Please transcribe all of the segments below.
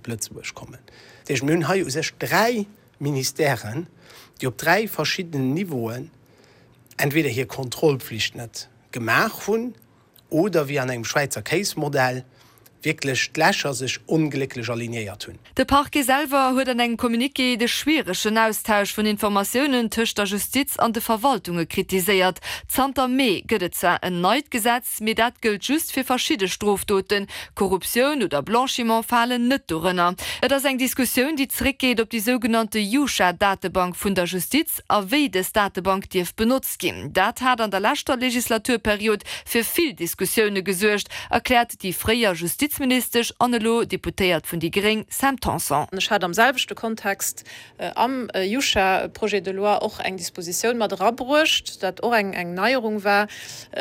op Lëtzebuerg kommen. Dat heescht, mir hunn hei u sech 3 Ministèren, déi op 3 verschiddenen Niveauen entweder hir Kontrollpflicht net gemaach hunn oder, wéi an engem Schwäizer Kéismodell, wierklech d'Lächer sech onglécklech alignéiert hunn. De Parquet selwer huet an engem Communiqué de schwieregen Austausch vun Informatiounen tëscht der Justiz an de Verwaltunge kritiséiert. Zanter Mee gëtt et zwar en neit Gesetz, mee dat gëllt just fir verschidde Strofdoten. Korruptioun oder Blanchiment falen net dorënner. Et ass eng Diskussioun, déi zeréckgeet op déi sougenannte Jusha-Datebank vun der Justiz a wéi dës Datebank dierf benotzt ginn. Dat hat an der leschter Legislaturperiod fir vill Diskussioune gesuergt, erkläert déi fréier Justizministesch an elo Deputéiert vun déi gréng Sam Tanson. Ech hat am selwechte Kontext am Jusha-Projet de loi och eng Dispositioun mat erabruecht, dat och eng Neierung war,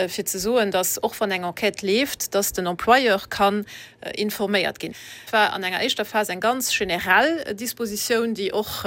fir ze soen, dass och wann eng Enquête leeft, dass den Employeur kann informéiert ginn. Et war an enger éischter Phas eng ganz generell Dispositioun, déi och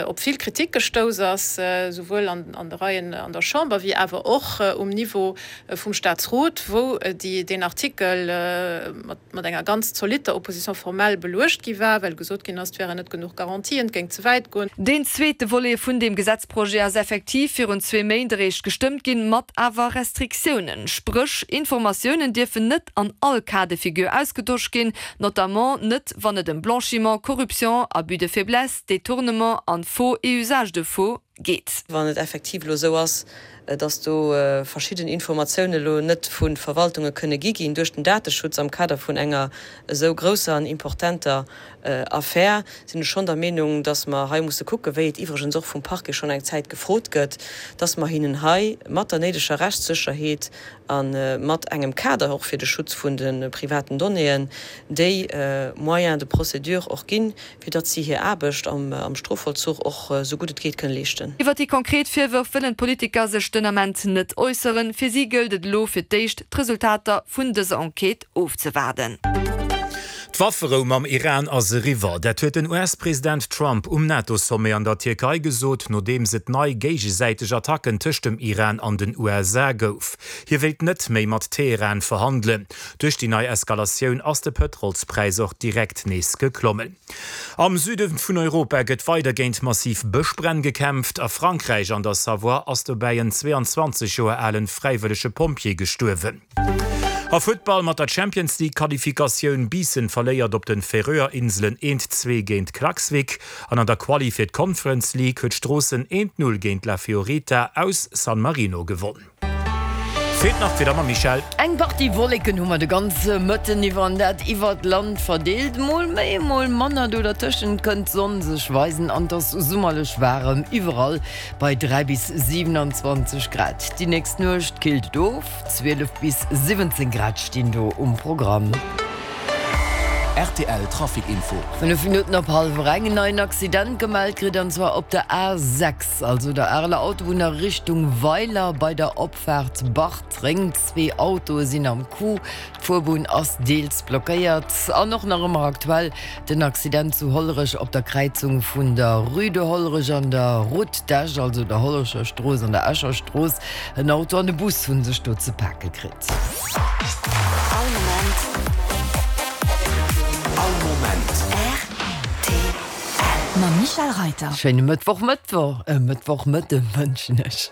op vill Kritik gestouss ass, souwuel an de Reien an der Chamber wéi awer och um Niveau vum Staatsrot, wou deen Artikel mat enger ganz zolitter Opposition formelle beluecht gi war, well gesot ginn ass, et wären net genuch Garantien, et géing ze wäit goen. Deen zweete Volet vun deem Gesetzprojet ass effektiv virun zwee Méint eréischt gestëmmt ginn, mat awer Restriktiounen. Spréch, Informatiounen dierfen net an all Cas de figure ausgetosch ginn, notamment net wann et ëm Blanchiment, Corruption, Abus de faiblesse, Détournement an Faux et usage de faux geet. Wann et effektiv elo esou ass, dass do verschidden Informatiounen elo net vu Verwaltunge kënne gi ginn duerch den Dateschutz am Kader vun enger esou grousser an importenter Affär, sinn ech schonn der Meenung, dass mer hei musse kucken, wéi et iwwregens och vum Parquet schonn eng Zäit gefrot gëtt, dass mer hinnen hei mat der néideger Rechtssécherheet a mat engem Kader och fir de Schutz vun de privaten Donnéeën déi Moyens de procédure och ginn, fir datt si hir Aarbecht am Strofvollzuch och esou gutt et geet kënne leeschten. Iwwer déi konkret Virwërf wëllen d'Politiker sech den Ament net äusseren. Fir si gëllt et elo fir d'éischt, d'Resultater vun dëser Enquête ofzewaarden. D'Wafferou mam Iran ass eriwwer. Dat huet den US-President Trump um NATO-Sommet an der Tierkei gesot, nodeems et nei géigesäiteg Attacken tëscht dem Iran an den USA gouf. Hie wéilt net méi mat Teheran verhandelen. Duerch déi nei Eskalatioun ass de Pëtrolspräis och direkt nees geklommen. Am Süde vun Europa gëtt weider géint massiv Bëschbränn gekämpft. A Frankräich an der Savoie ass dobäi en 22 Joer alen fräiwëllege Pompjee gestuerwen. A Futtball mat der Champions League Qualifikatioun, Biissen verléiert op den Färöer Inselen 1, 2 géint Klaksvik an an der Quali fir d'Conference League huet Stroossen 1, 0 géint La Fiorita aus San Marino gewonn. Feelt nach d'Wieder mam Michèle. Eng Partie Wolleken hu mer de ganze Mëtten iwwer an dat iwwert d'Land verdeelt. Mol méi, mol manner, do dertëschent kënnt d'Sonn sech weisen an et ass summerlech waarem iwwerall bei 3 bis 27 Grad. Déi nächst Nuecht killt et of. 12 bis 17 Grad stinn do um Programm. Rtl Trafic Info. 5 Minutten op hallwer eng, en neien Accident gemellt kritt an zwar op der A6, also der Areler Autobunn a Richtung Weiler bei der Opfaart Bartreng. Zwee Autoe sinn am Coup, d'Fuerbunn ass deels blockéiert. An och nach ëmmer aktuell den Accident zu Hollerech op der Kräizung vun der Rue de Hollerech an der Route d'Esch, also der Hollerecher Strooss an der Escher Strooss. En Auto an e Bus hunn sech do ze pake kritt. All Moment. All Moment. Rtl. Mam Michèle Reiter. Schéine Mëttwochmëttwoch, Mëttwochmëtte wënschen ech.